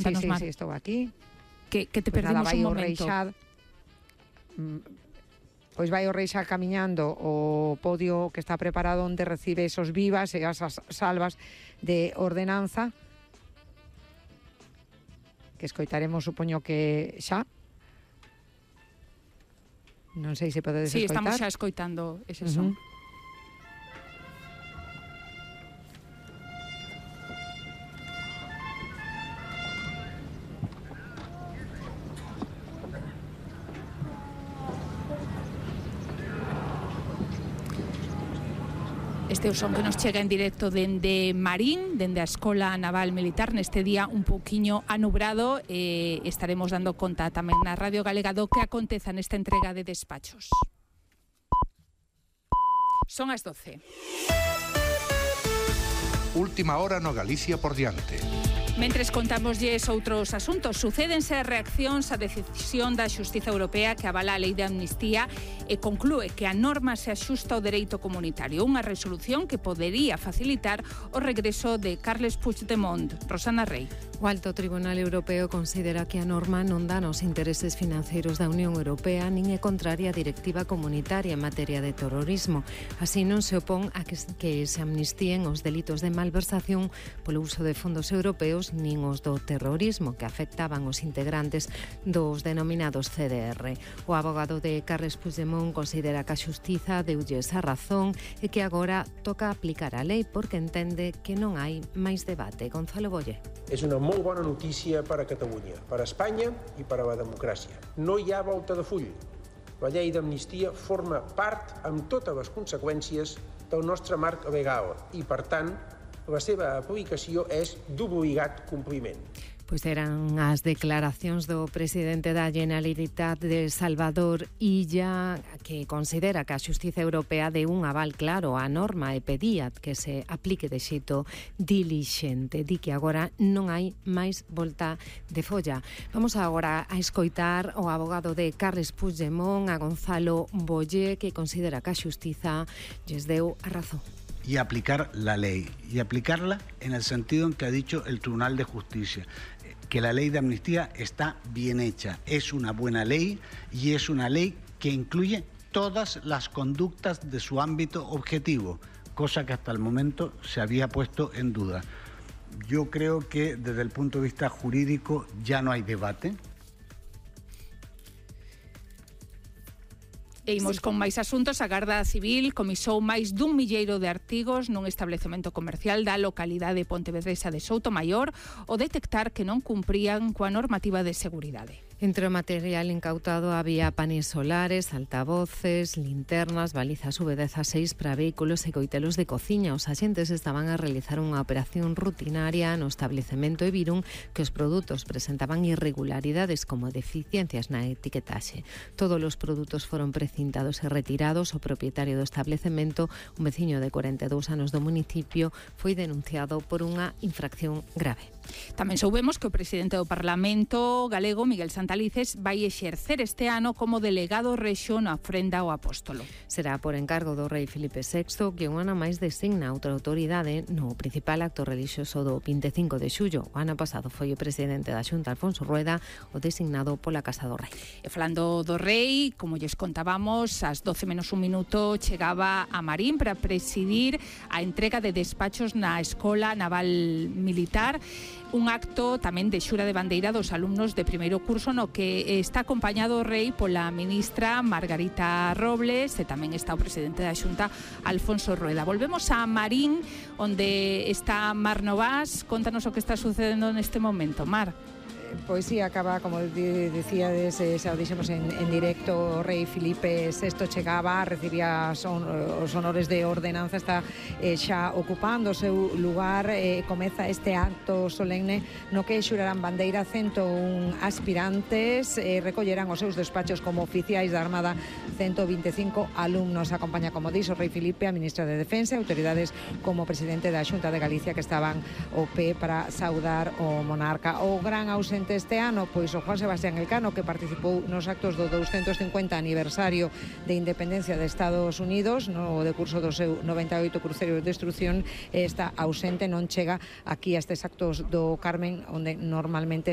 Sí, estou aquí. Que te perdimos un momento. Pois vai o rei xa camiñando o podio que está preparado onde recibe esos vivas e as salvas de ordenanza que escoitaremos, supoño que xa. Non sei se podedes escoitar. Sí, estamos xa escoitando ese son. Este é o son que nos chega en directo dende Marín, dende a Escola Naval Militar, neste día un pouquiño anubrado. Estaremos dando conta tamén na Radio Galega do que aconteza nesta entrega de despachos. Son as 12. Última hora no Galicia por diante. Mentres contámoslles outros asuntos, sucédense reaccións á decisión da Xustiza Europea que avala a lei de amnistía e conclúe que a norma se axusta ao dereito comunitario, unha resolución que podería facilitar o regreso de Carles Puigdemont. Rosana Rey. O Alto Tribunal Europeo considera que a norma non dá nos intereses financeiros da Unión Europea nin é contraria á directiva comunitaria en materia de terrorismo. Así non se opón a que se amnistíen os delitos de malversación polo uso de fondos europeos nin os do terrorismo que afectaban os integrantes dos denominados CDR. O abogado de Carles Puigdemont considera que a xustiza deulles a razón e que agora toca aplicar a lei porque entende que non hai máis debate. Gonzalo Boye. És una molt bona notícia per a Catalunya, per a Espanya i per a la democràcia. No hi ha volta de full. La llei d'amnistia forma part, amb totes les conseqüències, del nostre marc legal i, per tant, la seva aplicació és d'obligat compliment. Pois eran as declaracións do presidente da Generalitat de Salvador Illa, que considera que a Xustiza Europea deu un aval claro á norma e pedía que se aplique de xeito dilixente. Di que agora non hai máis volta de folla. Vamos agora a escoitar o abogado de Carles Puigdemont, a Gonzalo Boye, que considera que a Xustiza lles deu a razón. Y aplicar la ley, y aplicarla en el sentido en que ha dicho el Tribunal de Justicia, que la ley de amnistía está bien hecha, es una buena ley y es una ley que incluye todas las conductas de su ámbito objetivo, cosa que hasta el momento se había puesto en duda. Yo creo que desde el punto de vista jurídico ya no hay debate. E imos con máis asuntos. A Garda Civil comisou máis dun milleiro de artigos nun establecemento comercial da localidade pontevedresa de Soutomaior ao detectar que non cumprían coa normativa de seguridade. Entre o material incautado había paneis solares, altavoces, linternas, balizas V16 para vehículos e coitelos de cociña. Os axentes estaban a realizar unha operación rutinaria no establecemento e viron que os produtos presentaban irregularidades como deficiencias na etiquetaxe. Todos os produtos foron precintados e retirados. O propietario do establecemento, un veciño de 42 anos do municipio, foi denunciado por unha infracción grave. Tamén soubemos que o presidente do Parlamento galego, Miguel Santalices, vai exercer este ano como delegado rexio na ofrenda ao Apóstolo. Será por encargo do rei Filipe VI, que un ano máis designa outra autoridade no principal acto relixioso do 25 de xullo. O ano pasado foi o presidente da Xunta, Alfonso Rueda, o designado pola Casa do Rei. E falando do rei, como lles contábamos, ás 12 menos un minuto chegaba a Marín para presidir a entrega de despachos na Escola Naval Militar, un acto tamén de xura de bandeira dos alumnos de primeiro curso no que está acompañado o rei pola ministra Margarita Robles e tamén está o presidente da Xunta, Alfonso Rueda. Volvemos a Marín, onde está Mar Novas. Contanos o que está sucedendo neste momento, Mar. Pois sí, acaba, como dicíades, xa o dixemos en directo, o rei Filipe VI chegaba, recibía os honores de ordenanza, está xa ocupando o seu lugar, comeza este acto solemne no que xurarán bandeira 101 aspirantes, recollerán os seus despachos como oficiais da Armada 125 alumnos. Acompaña, como dixo, o rei Filipe, a ministra de Defensa, autoridades como o presidente da Xunta de Galicia que estaban ao pé para saudar o monarca. O gran ausente este ano, pois o Juan Sebastián Elcano, que participou nos actos do 250 aniversario de independencia de Estados Unidos no decurso do seu 98 cruceiro de destrucción, está ausente, non chega aquí a estes actos do Carmen, onde normalmente